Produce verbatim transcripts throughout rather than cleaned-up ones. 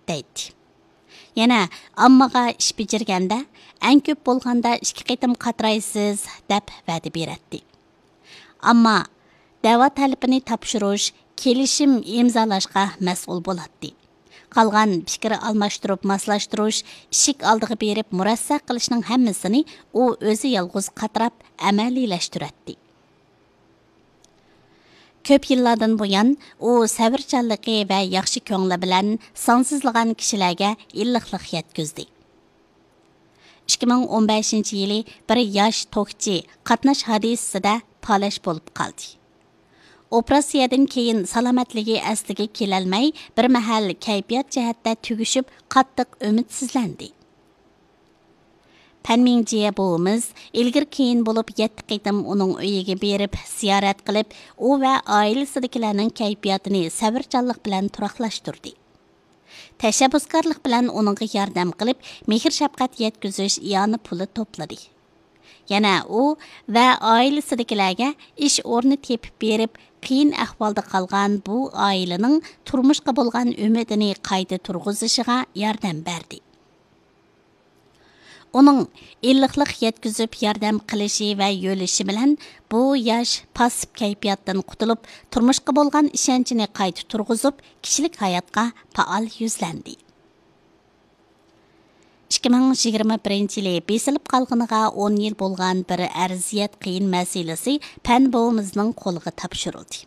دەيتتى. يەنە ئاممىغا ئىش بېجىرگەندە، ئەڭ كۆپ بولغاندا ئىككى قېتىم قاترايسىز، دەپ ۋەدە بېرەتتى. ئامما دەۋا تەلىپىنى تاپشۇرۇش، كېلىشىم ئىمزالاشقا مەسئۇل بولاتتى. قالغان پىكىر ئالماشتۇرۇپ ماسلاشتۇرۇش، ئىشىك ئالدىغا بېرىپ مۇرەسسە قىلىشنىڭ ھەممىسىنى ئۇ ئۆزى يالغۇز قاتراپ ئەمەلىيلەشتۈرەتتى. كۆپ يىللاردىن بۇيان، ئۇ سەۋرچانلىقى ۋە ياخشى كۆڭلى بىلەن سانسىزلىغان كىشىلەرگە ئىللىقلىق يەتكۈزدى. ئىككى مىڭ ئون بەشىنچى يىلى بىر ياش توكچى قاتناش ھادىسىسىدە پالەچ بولۇپ قالدى. ئوپېراتسىيەدىن كېيىن سالامەتلىكى ئەسلىگە كېلەلمەي، بىر مەھەل كەيپىيات جەھەتتە تۈگىشىپ، قاتتىق ئۈمىدسىزلەندى. پەن مىڭجيې بوۋىمىز ئىلگىرى كېيىن بولۇپ يەتتە قېتىم ئۇنىڭ ئۆيىگە بېرىپ زىيارەت قىلىپ، ئۇ ۋە ئائىلىسىدىكىلەرنىڭ كەيپىياتىنى سەۋرچانلىق بىلەن تۇراقلاشتۇردى. تەشەببۇسكارلىق بىلەن ئۇنىڭغا ياردەم قىلىپ، مېھىر شەپقەت يەتكۈزۈش ئىئانە پۇلى توپلىدى. يەنە ئۇ ۋە ئائىلىسىدىكىلەرگە ئىش ئورنى تېپىپ بېرىپ، قىيىن ئەھۋالدا قالغان بۇ ئائىلىنىڭ تۇرمۇشقا بولغان ئۈمىدىنى قايتا تۇرغۇزۇشىغا ياردەم بەردى. ئۇنىڭ ئىللىقلىق يەتكۈزۈپ ياردەم قىلىشى ۋە يۆلىشى بىلەن بۇ ياش پاسسىپ كەيپىياتتىن قۇتۇلۇپ، تۇرمۇشقا بولغان ئىشەنچىنى قايتا تۇرغۇزۇپ، كىشىلىك ھاياتقا پائال يۈزلەندى. ئىككى مىڭ يىگىرمە بىرىنچى يىلى بېسىلىپ قالغىنىغا ئون يىل بولغان بىر ئەرزىيەت قىيىن مەسىلىسى پەن بوۋىمىزنىڭ قولىغا تاپشۇرۇلدى.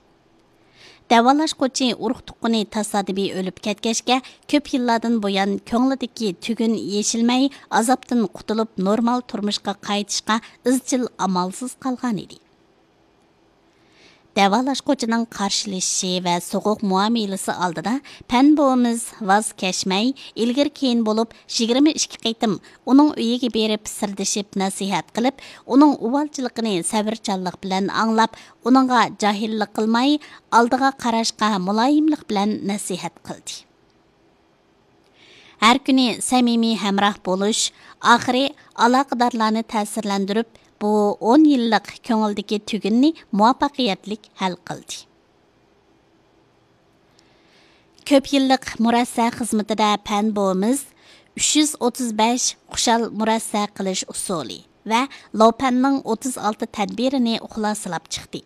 دەۋالاشقۇچى ئۇرۇق تۇغقىنى تاسادىپىي ئۆلۈپ كەتكەچكە، كۆپ يىللاردىن بۇيان كۆڭلىدىكى تۈگۈن يېشىلمەي، ئازابتىن قۇتۇلۇپ، نورمال تۇرمۇشقا قايتىشقا ئىزچىل ئامالسىز قالغانىدى. دەۋالاشقۇچىنىڭ قارشىلىشىشى ۋە سوغۇق مۇئامىلىسى ئالدىدا پەن بوۋىمىز ۋاز كەچمەي، ئىلگىرى كېيىن بولۇپ يىگىرمە ئىككى قېتىم ئۇنىڭ ئۆيىگە بېرىپ سىردىشىپ نەسىھەت قىلىپ، ئۇنىڭ ئۇۋالچىلىقىنى سەۋرچانلىق بىلەن ئاڭلاپ، ئۇنىڭغا جاھىللىق قىلماي، ئالدىغا قاراشقا مۇلايىملىق بىلەن نەسىھەت قىلدى. ھەر كۈنى سەمىمىي ھەمراھ بولۇش، ئاخىرى ئالاقىدارلارنى تەسىرلەندۈرۈپ، بۇ ئون يىللىق كۆڭۈلدىكى تۈگۈننى مۇۋەپپەقىيەتلىك ھەل قىلدى. كۆپ يىللىق مۇرەسسە خىزمىتىدە پەن بوۋىمىز ئۈچ يۈز ئوتتۇز بەش خۇشال مۇرەسسە قىلىش ئۇسۇلى ۋە لوپەننىڭ ئوتتۇز ئالتە تەدبىرىنى خۇلاسىلاپ چىقتى.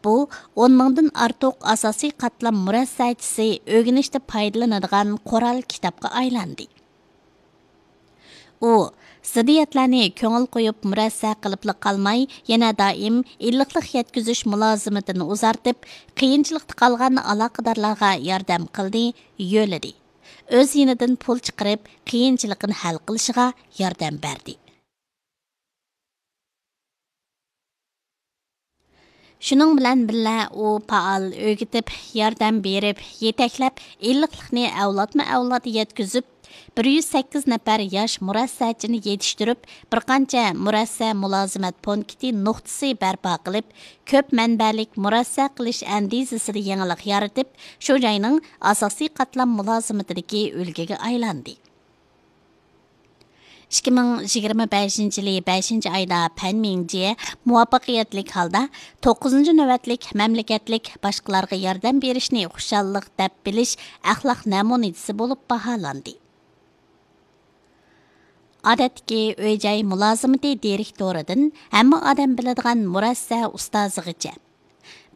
بۇ ئون مىڭدىن ئارتۇق ئاساسىي قاتلام مۇرەسسەچىسى ئۆگىنىشتە پايدىلىنىدىغان قورال كىتابقا ئايلاندى. ئۇ زىددىيەتلەرنى كۆڭۈل قويۇپ مۇرەسسە قىلىپلا قالماي، يەنە دائىم ئىللىقلىق يەتكۈزۈش مۇلازىمىتىنى ئۇزارتىپ، قىيىنچىلىقتا قالغان ئالاقىدارلارغا ياردەم قىلدى، يۆلىدى. ئۆز يېنىدىن پۇل چىقىرىپ، قىيىنچىلىقىنى ھەل قىلىشىغا ياردەم بەردى. شۇنىڭ بىلەن بىللە، ئۇ پائال ئۆگىتىپ، ياردەم بېرىپ، يېتەكلەپ، ئىللىقلىقنى ئەۋلادمۇ ئەۋلاد يەتكۈزۈپ، بىر يۈز سەككىز نەپەر ياش مۇرەسسەچىنى يېتىشتۈرۈپ، بىر قانچە مۇرەسسە مۇلازىمەت پونكىتى نۇقتىسى بەرپا قىلىپ، كۆپ مەنبەلىك مۇرەسسە قىلىش ئەندىزىسىدە يېڭىلىق يارىتىپ، شۇ جاينىڭ ئاساسىي قاتلام مۇلازىمىتىدىكى ئۈلگىگە ئايلاندى. ئىككى مىڭ يىگىرمە بەشىنچى يىلى بەشىنچى ئايدا پەن مىڭجيې مۇۋەپپەقىيەتلىك ھالدا توققۇزىنچى نۆۋەتلىك مەملىكەتلىك باشقىلارغا ياردەم بېرىشنى خۇشاللىق دەپ بىلىش ئەخلاق نەمۇنىسى بولۇپ باھالاندى. ئادەتتىكى ئۆي-جاي مۇلازىمىتى دىرېكتورىدىن ھەممە ئادەم بىلىدىغان مۇرەسسە ئۇستازىغىچە،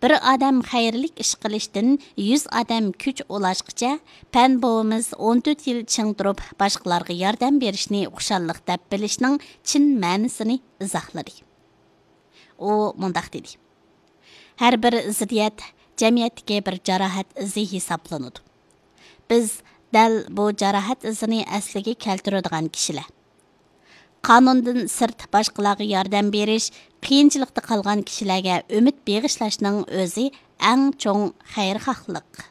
بىر ئادەم خەيرلىك ئىش قىلىشتىن يۈز ئادەم كۈچ ئۇلاشقىچە، پەن بوۋىمىز ئون تۆت يىل چىڭ تۇرۇپ، باشقىلارغا ياردەم بېرىشنى خۇشاللىق دەپ بىلىشنىڭ چىن مەنىسىنى ئىزاھلىدى. ئۇ مۇنداق دېدى: «ھەر بىر زىددىيەت جەمئىيەتتىكى بىر جاراھەت ئىزى ھېسابلىنىدۇ. بىز دەل بۇ جاراھەت ئىزىنى ئەسلىگە كەلتۈرىدىغان كىشىلەر. قانۇندىن سىرت باشقىلارغا ياردەم بېرىش، قىيىنچىلىقتا قالغان كىشىلەرگە ئۈمىد بېغىشلاشنىڭ ئۆزى ئەڭ چوڭ خەيرخاھلىق.»